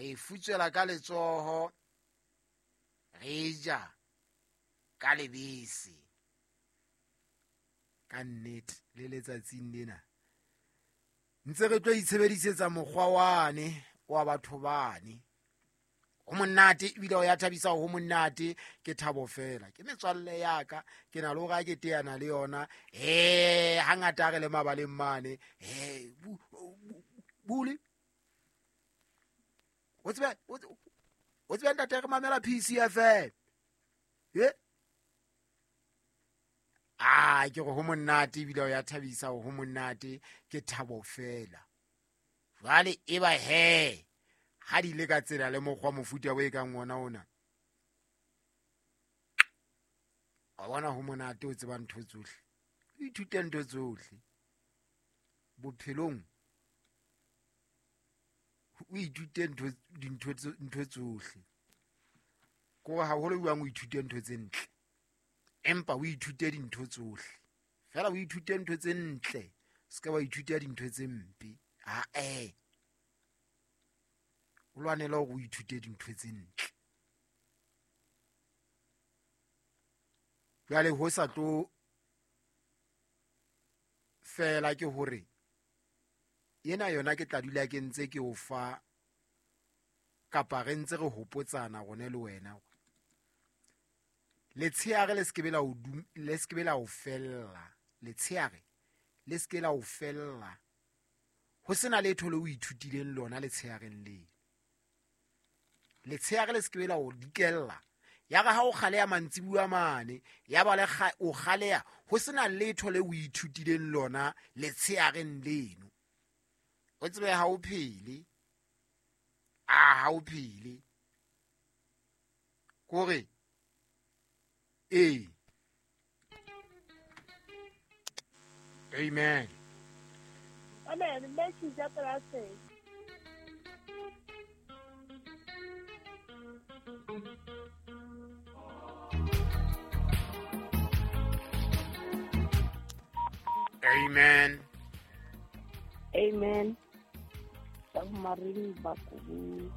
Re e futswela ka letsoho, re ja ka lebese. Ka nnete le letsatsing lena ntse re tlo itshebedisetsa mokgwa wane wa batho bane. Ho monate ebile o ya thabisa, ho monate ke thabo fela. Ke metswalle ya ka, ke na le hore ha ke teana le yona, hangata re le mabaleng mane, bule. O tsebe ntate re mamela PCFM. Ah, ke re ho monate ebile o ya thabisa, ho monate ke thabo fela. Jwale e ba he ha di le ka tsela le mokgwa mofuta o e kang ona ona. Wa bona ho monate o tseba ntho tsohle. O ithute ntho tsohle. Bophelong o ithute ntho tsohle. Ko haholo buang o ithute ntho tse ntle. Empa o ithute dintho tsohle. Fela o ithute ntho tse ntle, se ka wa ithuta dintho tse mpe. Ha. O lwanela hore o ithute dintho tse ntle. Jwale ho sa tlo fela ke hore ena yona ke tla dula ke ntse ke o fa kapa re ntse re hopotsana rone le wena. Letsheare le sekebe la o le sekebe la o fella. Letsheare le seke la o fella. Ho sena letho le o ithutileng lona letsheareng le. Letsheare le sekebe la o dikella. Ya re ha o kgaleha mantsibuya mane, ya ba le o kgaleha ho sena letho le o ithutileng lona letsheareng leno. O tsebe ha o phele. Ah, ha o phele. Kore Amen. Amen. Amen. Amen. Submarine Bakubu.